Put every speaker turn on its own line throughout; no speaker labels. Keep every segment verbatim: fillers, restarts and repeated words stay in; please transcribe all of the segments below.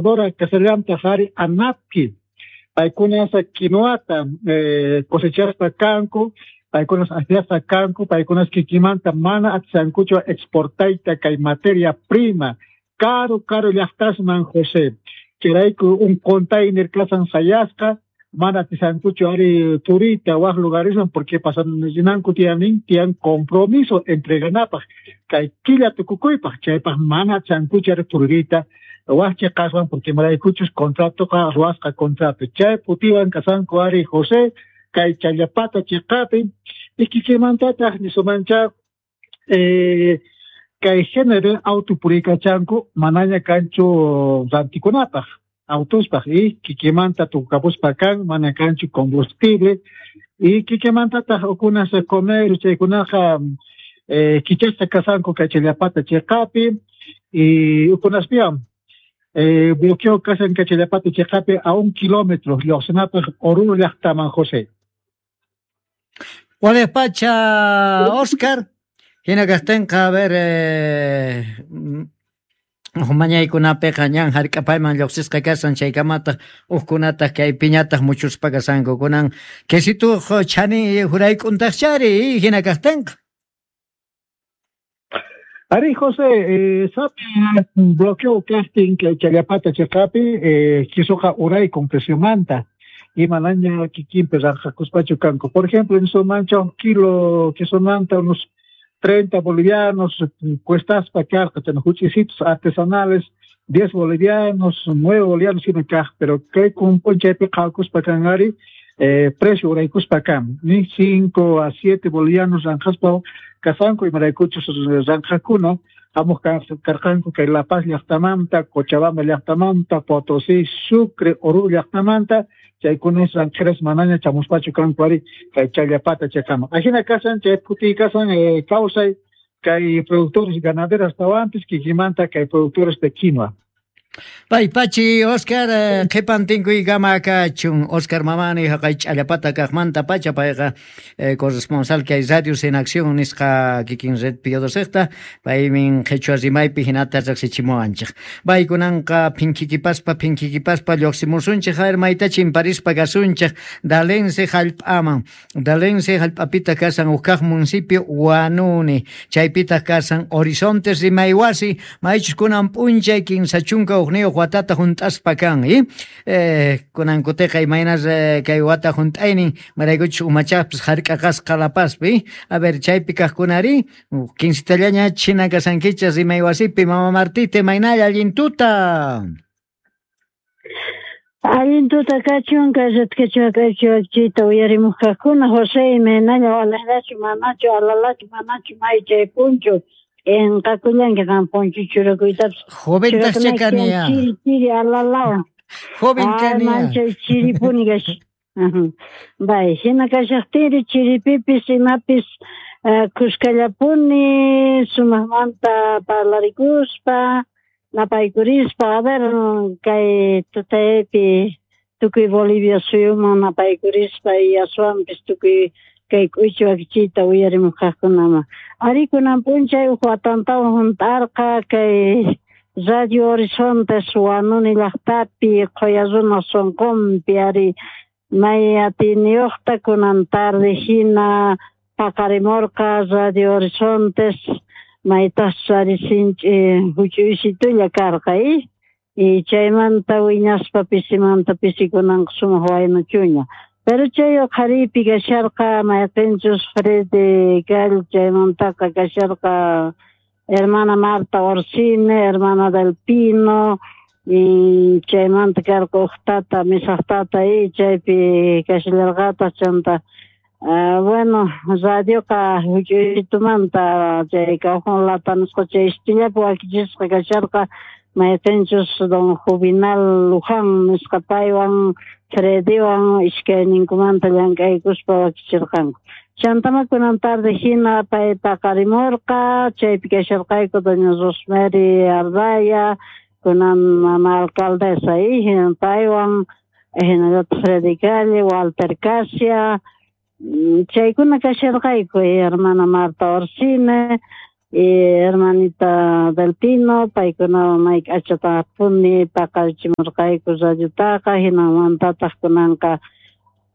Exportadora kasallantaq ari ANAPQUI, paykunas quinoata eh, cosechaspa kanku, paykunas akllasqa kanku, paykunas kikimanta mana atishankuchu exportayta kay materia prima karu karu llaqtasman, José. Chayrayku un container kasan sayasqa, mana atishankuchu ari turita wak lugaresman porque pasananku tiyanin tiyan compromiso entreganapaq kay killa tukukuypaq, chaypaq mana atishankuchu ari turita wak chiqaswan porque imaraykuchus contratoqa ruwasqa contrato. Chay putiwan kasanku ari, José, kay Challapata chiqapi. Y kikimantataq nisumancha eh, kay género auto puriykachanku, manaña kanchu rantikunapaq autospaq y kikimanta tukapuspa kan, mana kanchu combustible y kikimantataq ukunas comer chaykunaqa eh, kichasqa kasanku kay Challapata chiqapi y ukunaspiwan eh, bloqueo kasan kay Challapata chiqapi a un kilómetro lluqsinapaq Oruro llaqtaman, José.
Wales pacha, Oscar. Hina kaqtinqa, a ver, eh, mañaykunapiqa ñan hark'apayman lluqsisqa kasan, chaykamataq hukkunataq kaypiñataq muchuspa kasanku. Kunan quesituq chani hurayk'untaqchari hina kaqtinqa.
Ari, José, eh, sapi bloqueo kaqtin kay Challapata chiqapi, eh, quisuqa uraykun preciomanta y manaña kikinpi ranqakuspachu kanku. Por ejemplo, en Sumancha un kilo quesomanta unos treinta bolivianos cuestaspa karqa, chayna huch'isitos artesanales diez bolivianos, nueve bolivianos hina kaq, pero kay p'unchaypi qhawakuspa kan ari eh, precio uraykuspa kan ni cinco a siete bolivianos ranqaspa kasanku, imaraykuchus ranqakuna hamuq karqanku kay La Paz llaqtamanta, Cochabamba llaqtamanta, Potosí, Sucre, Oruro llaqtamanta, chaykunas ranqeras manaña chamuspachu kanku ari kay Challapata chaykaman. Ajina kasan chay putiy kasan eh, kawsay kay productores ganaderos astawanpis kikimanta kay productores de quinoa.
Pay pachi, Oscar, qhipan tinkuykama kachun. Oscar Mamani haqay Challapata kaqmanta pacha, payqa eh, corresponsal kay Radios en Acción nisqa kikin red Pío Docekta, paymin qhichwa rimaypi hinata riqsichimuwanchik. Paykunanqa phinkikipaspa phinkikipaspa lluqsimusunchik, a ver mayta chimparispa kasunchik Dalense hallp'aman. Dalense hallp'apita kasan huk kaq municipio Huanuni, chaypitaq kasan Horizontes rimaywasi, maychus kunan p'unchay kinsa chunka hukniyuq watata hunt'aspa kan, eh? Eh, kunan kutiqa imaynas eh, kay wata hunt'aynin maraykuchus umachaqpis hark'aqasqa La Pazpi. A ver, chaypi kaqkunari kinsitallaña china kasankichas rimaywasipi. Mama Martita, imaynalla, allin tuta.
Allin tuta kachun kay ritkichwa kaychiwakchiyta uyarimuq kaqkuna. José, imaynalla, walaqllachu, manachu, alalachu, manachu, may chay punchu enqakullanki qam punchu churakuytapas.
Joventaqcha kani ya.
Chiri chiri alalawan.
Joven kani ya.
Manchay chiripuni kash. Bay, hina kashaqtinri chiripipis imapis kuskallapuni sumaqmanta parlarikuspa napaykurispa. A ver, kay tutaypi tukuy Bolivia suyuman napaykurispa y aswanpis tukuy kay k'uychi wakichiyta uyarimuq kaqkunaman. Ari kunan p'unchay huk watantawan hunt'arqa kay Radio Horizontes Huanuni llaqtapi qhuya runaq sunqunpi, ari may atiyniyuqta kunan tarde hina paqarimurqa Radio Horizontes, maytaqchus ari sinch'i huch'uysitulla karqa i y chaymanta wiñaspa pisimanta pisi kunanqa sumaq waynachuña. Pero chay uqhariypi kasharqa mayqinchus Freddy Gall, chaymantaqa kasharqa hermana Marta Orsini, hermana del Pino, y chaymanta karqa huk tata, misaq tata y chaypi kashallarqataq. Chanta uh, bueno, radioqa huch'uytumanta chay cajón lata nisqa chay istillapi wakichisqa kasharqa, mayqinchus don Juvenal Luján nisqa paywan Freddywan iskayninkumanta llank'aykuspa wakichirqanku. Chantama kunan tarde hina pay paqarimurqa, chaypi kasharqayku doña Rosemary Ardaya, kunan mama alcaldesa y paywan hinallataq Freddy Calle, Walter Casia, chaykuna kasharqayku, hermana Marta Orsini. y hermanita Del Pino, paykunawan may k'achatapuni paqarichimurqayku radiotaqa, hinamantataq kunanqa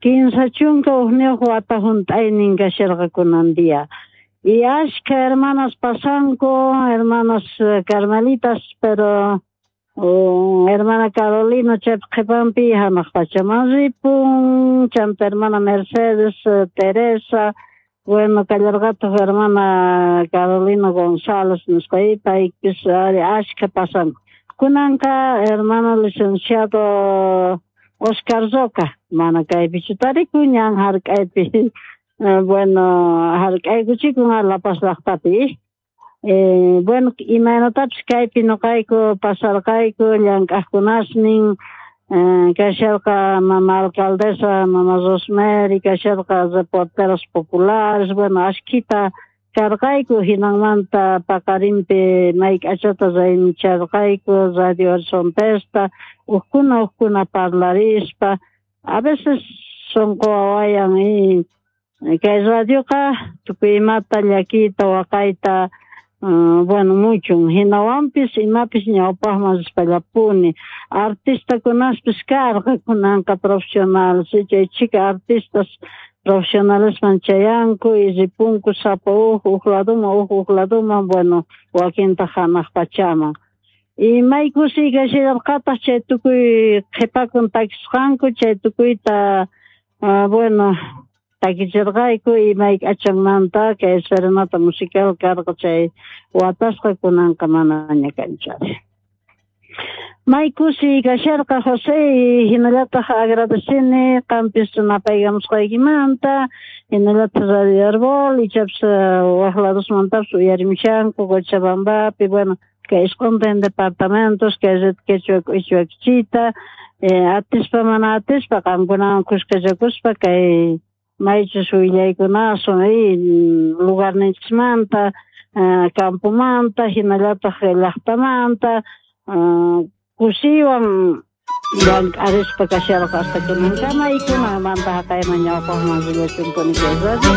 kinsa chunka hukniyuq wata hunt'aynin kasharqa kunan día. Y ashka hermanas pasanku, hermanas carmelitas, pero oh, hermana Carolina chaypi qhipanpi hanaq pachaman ripun, chanta hermana Mercedes, Teresa, bueno, kallarqataq hermana Carolina González nisqa paypis ari ashka pasanku. Kunanqa hermano licenciado Oscar Roca, mana kaypichu tarikun, ñan hark'aypi, bueno, hark'aykuchikun La Paz llaqtapi. Eh, bueno, imaynatapis kaypi nuqayku pasarqayku llank'aqkunasnin, eh, kasharqa mama alcaldesa, mama Rosemary, kasharqa reporteros populares, bueno, ashkita karqayku, hinanmanta paqarinpi may k'achata raymicharqayku, Radio Horizontesta, ukkuna ukkuna parlarispa, a veces sunqu wawayan y kay radioqa tukuy imata llakiyta waqayta, Uh, bueno, mucho. Hinawanpis imapis ñawpaqman rispallapuni. Artistakunaspis karqa kunanqa profesionales, chay chika artistas profesionalesman chayanku y ripunku sapa uj uj laduman uj uj laduman, bueno, wakintaq hanaq pachaman. Y may kusiy kasharqataq chay tukuy qhipakun takisqanku, chay tukuyta uh, bueno, takichirqayku y may k'achanmanta kay serenata musical karqa chay watasqa kunanqa manaña kanchari. May kusiy kasharqa José, hinallataq agradecini qampis napaykamusqaykimanta, hinallataq Radio Herbol, ichapis waq ladosmantapis uyarimushanku Cochabambapi, bueno, kay isquntin departamentos, kay red quechua k'ichwakichita, eh, atispa mana atispa qamkunawan kuskachakuspa kay maychus willaykunasun y lugarninchismanta, uh, campomanta, hinallataq llaqtamanta, uh, kusiywan llank'arispa kasharqa hasta kunankama y kunanmanta haqayman ñawpaqman rillachunpuni kay radio.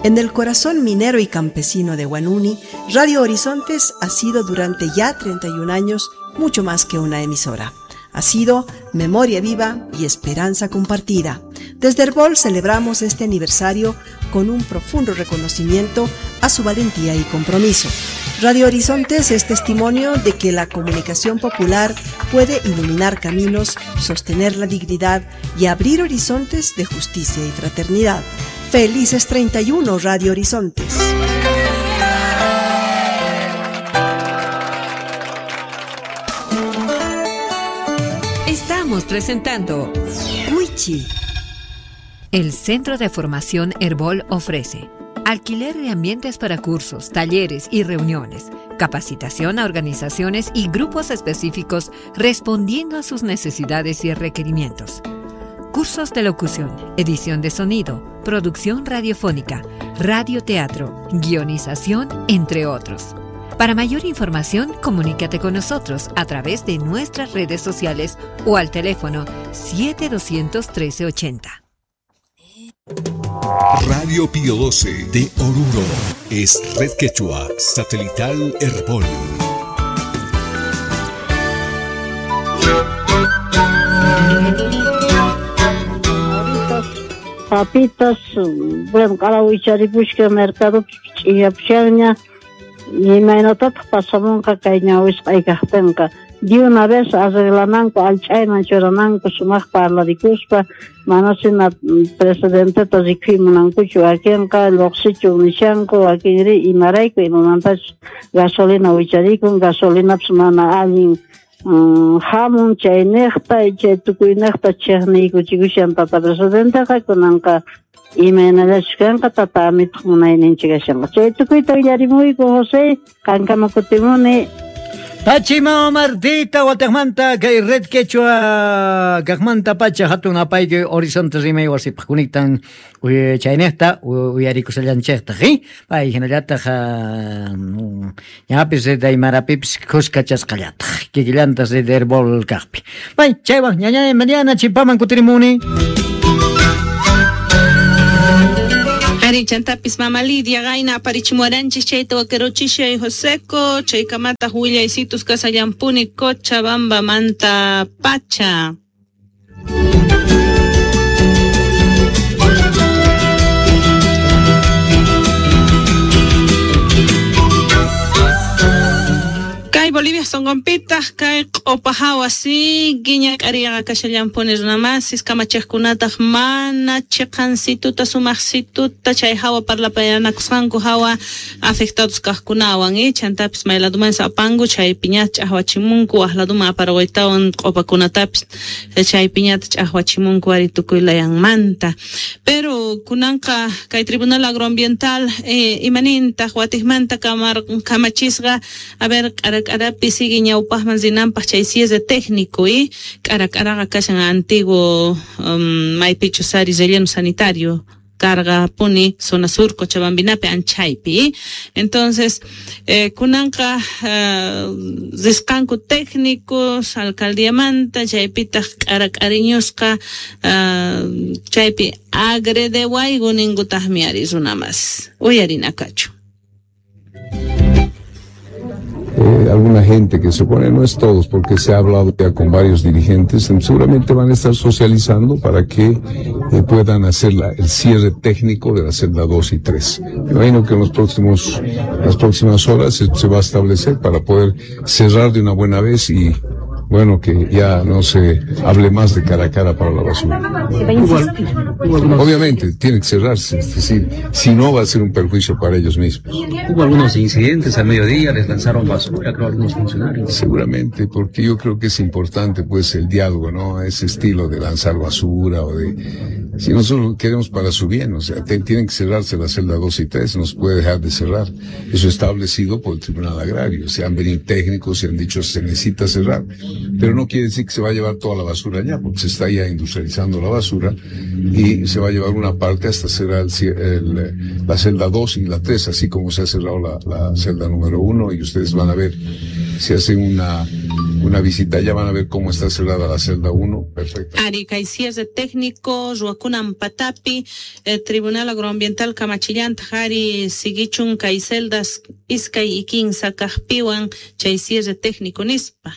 En el corazón minero y campesino de Huanuni, Radio Horizontes ha sido durante ya treinta y un años mucho más que una emisora. Ha sido memoria viva y esperanza compartida. Desde Herbol celebramos este aniversario con un profundo reconocimiento a su valentía y compromiso. Radio Horizontes es testimonio de que la comunicación popular puede iluminar caminos, sostener la dignidad y abrir horizontes de justicia y fraternidad. ¡Felices treinta y uno, Radio Horizontes!
Estamos presentando Wichi. El Centro de Formación Herbol ofrece alquiler de ambientes para cursos, talleres y reuniones, capacitación a organizaciones y grupos específicos respondiendo a sus necesidades y requerimientos. Cursos de locución, edición de sonido, producción radiofónica, radioteatro, guionización, entre otros. Para mayor información, comunícate con nosotros a través de nuestras redes sociales o al teléfono siete dos uno tres ochenta.
Radio Pío doce de Oruro es Red Quechua Satelital Herbol.
Papitas, bueno, q'arawicharipusqa mercadopi ch'iyapushanña. Imaynatataq pasamunqa kay ñawisq'ay kaqtinqa de una vez arreglananku allch'ayman churananku sumaq parlarikuspa, mana sina presidenteta rikuy munankuchu, wakinqa lluqsichun nishanku, wakinri imarayku imamantachus gasolina wicharikun, gasolinapis mana allin um, hamun chayniqta, chay tukuyniqta chiqniykuchikushan tata presidenteqa, kunanqa imaynallachus kanqa tata amituq munayninchik kashanqa. Chay tukuyta willarimuyku José, qankama kutimuni.
Pachima Martita, Guatemala, kay Red Quechua, kaqmanta pacha hatun apayki Horizonte rimay wasipaq kunektan chaynejta uyarikusallanchejtaq, pay hinallataq ñapis daymarapipis kuskachasqallataq kikillantas de Herbol kaqpi. Pay chaywan ñañay mañana chimpaman kutirimuni.
Ari chantapis mama Lidia gayna aparichimuaranchis chayta wakerochishay Joseco chaykamata willaysitus kasallampuni Cochabamba manta pacha. Kay Bolivia sonqonpitaq kay q'upahawa sigue ñak'ariqa kashallampuni runamasis kamachiqkunataq mana chiqansituta sumaqsituta chay hawa parlapayanakusqanku hawa afectados kaqkunawan eh chantapis mayladuman apanku chaypiñata ch'aqwachimunku waqladuman aparawaytawan q'upakunatapis chaypiñata ch'aqwachimunku ari tukuy layanmanta. Pero kunanqa kay Tribunal Agroambiental eh, imanintaq watiqmanta kamar kamachisqa a ver k'arak'arapi sigue ñawpaqman rinanpaq chay cierre técnico y k'arak'araqa kashan antiguo um, maypichu sari relleno sanitario carga puni zona sur Cochabambinapi anchaypi. Entonces eh, kunanqa uh, risqanku técnicos alcaldiamanta chaypitaq k'arak'ariñusqa uh, chaypi agredewayku ninkutaqmi ari runamas uyarinakachu.
Eh, alguna gente que se opone, no es todos, porque se ha hablado ya con varios dirigentes, seguramente van a estar socializando para que eh, puedan hacer la, el cierre técnico de la celda dos y tres. Me imagino que en los próximos, las próximas horas se, se va a establecer para poder cerrar de una buena vez y bueno, que ya no se hable más de cara a cara para la basura. Obviamente, tiene que cerrarse, es decir, si no va a ser un perjuicio para ellos mismos.
Hubo algunos incidentes al mediodía, les lanzaron basura, creo, algunos funcionarios.
Seguramente, porque yo creo que es importante, pues, el diálogo, ¿no? Ese estilo de lanzar basura o de... Si nosotros queremos para su bien, o sea, te, tienen que cerrarse la celda dos y tres, no se puede dejar de cerrar. Eso establecido por el Tribunal Agrario. Se han venido técnicos, se han dicho se necesita cerrar, pero no quiere decir que se va a llevar toda la basura allá, porque se está ya industrializando la basura y se va a llevar una parte hasta cerrar el, el, la celda dos y la tres, así como se ha cerrado la, la celda número uno, y ustedes van a ver, si hacen una, una visita allá van a ver cómo está cerrada la celda uno, perfecto.
Arica y cierre técnico, Ruacunan Patapi, el Tribunal Agroambiental Kamachillanta, Jari, Siguichun, kay celdas, iskay y kinsa, kajpiwan, chay cierre técnico nispa.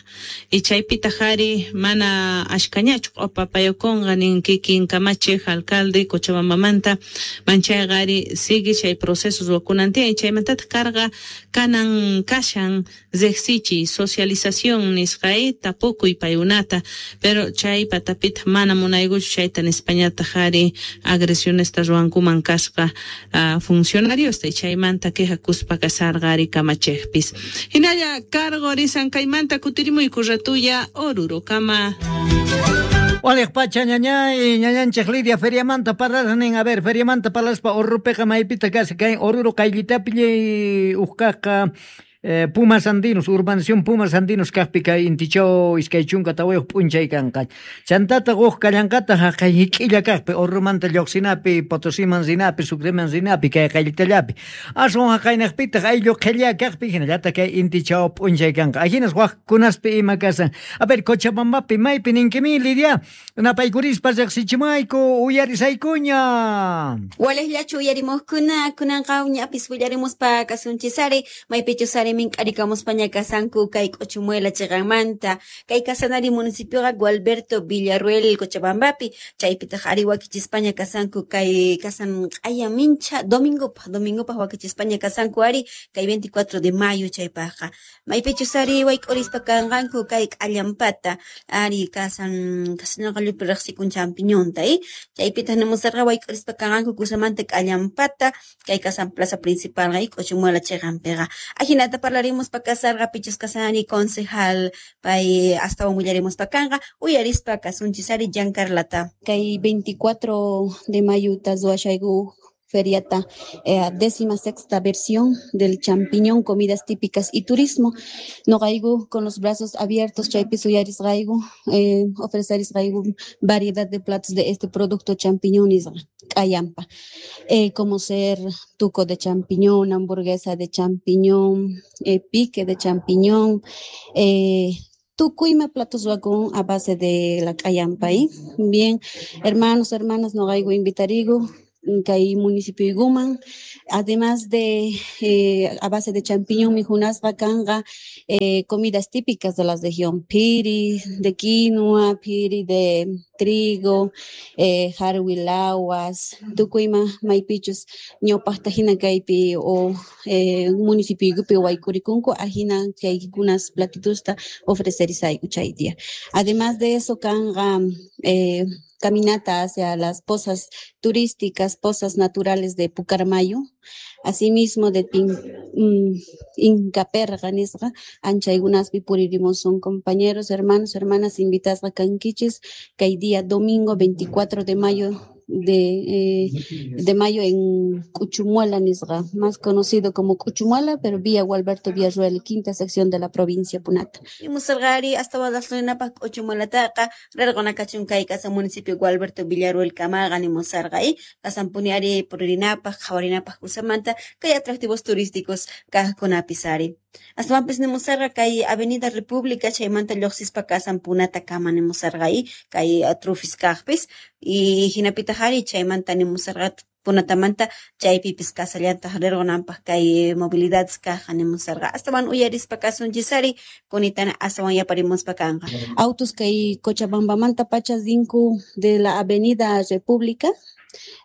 Y chaypita jari, mana ashkañachu, opapayokonga, nin kikin kamachi, alcalde, Cochabambamanta, manchaygari, sigue chay procesos Ruacunantia, y chaymantata carga, kanan kashan, zexi, socialización nisqay tapukuy payunata, pero chay patapita mana munaykuchu chayta nispañata jari agresiones ruwankuman kasqa uh, funcionarios y chaymanta quejakuspa kasarqa ari kamachejpis. Hinalla cargo risan kaymanta kutirimuyku ratuya Oruro kama.
Waliq pacha ñañay ñañanchik Lidia feriamanta parlarnin, a ver, feriamanta parlaspa Orrupeqa maypita kasqa kay Oruro qayllitapi uqkaqqa Eh, Pumas Andinos, urbanización Pumas Andinos kaqpi kay intichaw iskay chunka tawayuq p'unchay kanqa. Chantata quq kallanqata haqay hik'illa kaqpi Orrumanta lluqsinapi, Potosiman rinapi, Sucreman rinapi, kay qayllitallapi. Aswan haqaynaqpitaq ayllu qhilla kaqpi hinallataq kay intichaw p'unchay kanqa. Ahinas waqkunaspi ima kasan. A ver, Cochabambapi maypi ninkimi Lidia, napaykurispa riqsichimayku uyarisaykuña.
Walejllachu uyarimuqkuna kunanqa uñapis willarimuspa kasunchisari maypichus ari mink'arikamuspaña kasanku kay K'uchumuela chiqanmanta kay kasanari municipioqa Gualberto Villarruel Cochabambapi chaypitaq ari wakichispaña kasanku kay kasan q'aya mincha domingopaq domingopaq wakichispaña kasanku ari kay veinticuatro de mayo chaypaqqa maypichus ari wayk'urispa kanqanku kay k'allampata ari kasan kasanaqa llupi riqsikun champiñonta eh chaypitaq nimusarqa wayk'urispa kanqanku kusamanta k'allampata kay kasan plaza principal kay K'uchumuela chiqanpiqa ajinata parlaremos pa kasarqa pichus kasani concejal pay astawan willaremos pa kanqa uyarispa kasunchisari Giancarlata.
Kay veinticuatro de mayo tazuashayku feriata, eh, décima sexta versión del champiñón, comidas típicas y turismo. Nogaigu con los brazos abiertos, chaypis uyarisqayku, eh, ofrecerisqayku variedad de platos de este producto champiñón y k'allampa, eh, como ser tuco de champiñón, hamburguesa de champiñón, eh, pique de champiñón, eh, tukuyma platos wakun a base de la k'allampa. ¿eh? Bien, hermanos, hermanas, nogaigu invitarigu kay municipioykuman. Además de eh, a base de champiñón mijunasqa kanqa eh, comidas típicas de la región, phiri de quinoa, phiri de trigo, eh, jarwilawas, tukuyma maypichus ñawpaqta hina kaypi o eh, municipioykupi waykurikunku ajina chaykunas platitusta ofrecerisayku chay día. Además de eso kanqa eh, caminata hacia las pozas turísticas, pozas naturales de Pucarmayo, asimismo de Pin, mm, Incaperga nisqa, anchaykunaspi puririmusun compañeros, hermanos, hermanas invitadas a kankichis, kay día domingo veinticuatro de mayo de, eh, de mayo en Cuchumuela nisqa, más conocido como Cuchumuela, pero vía Gualberto Villarroel, quinta sección de la provincia Punata.
Musarqari hasta wadaslinapaq K'uchumuelataqa rirquna kachun kay kasa municipio Gualberto Villarroel kamaqa nimusarqa y kasanpuni ari puririnapaq qhawarinapaq kusamanta kay atractivos turísticos kaqkunapis ari. Astawanpis nimusarqa kay Avenida República chaymanta lluqsispa kasan Punata kama nimusarqa y kay trufis kaqpis y hinapitaq ari chaymanta nimusarqa Punatamanta chaypipis kasallantaq rirqunanpaq kay movilidades kaqqa nimusarqa astawan uyarispa kasunchis ari kunitana astawan yaparimuspa kanqa.
Autos kay Cochabambamanta pachas rinku de la Avenida República,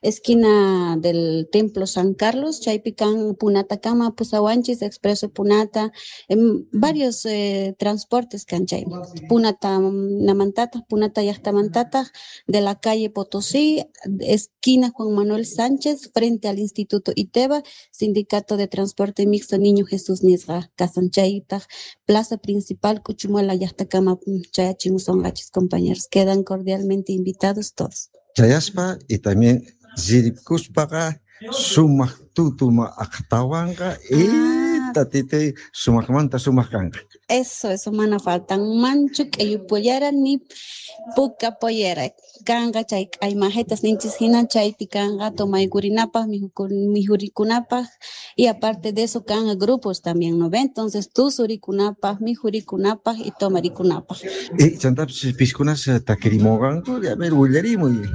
esquina del Templo San Carlos, chaypi kan Punatakama, Pusawanchis, Expreso Punata, en varios eh, transportes kan chay. Punata namantata, Punata llaqtamantata, de la calle Potosí, esquina Juan Manuel Sánchez, frente al Instituto Iteba, Sindicato de Transporte Mixto Niño Jesús nisqa, kasan chaytaq, Plaza Principal, Cuchumuela llaqtakama chayachimusonqachis compañeros. Quedan cordialmente invitados todos.
Chayaspa y también zirikuspaqa sumaq tutuma aqtawanqa y tatitay sumaqmanta sumaq kanqa.
Eso, eso mana faltanmanchu k'ayu pollera ni puka pollera. Kanqa chay k'aymajetas ninchis hina chaypi kanqa tomaykurinapaq, mijurikunapaq y aparte de eso kanqa grupos también, ¿no ve? Entonces tusurikunapaq, mijurikunapaq y tomarikunapaq.
Y chantapis piskunas takirimunqanku, a ver, willarimuy.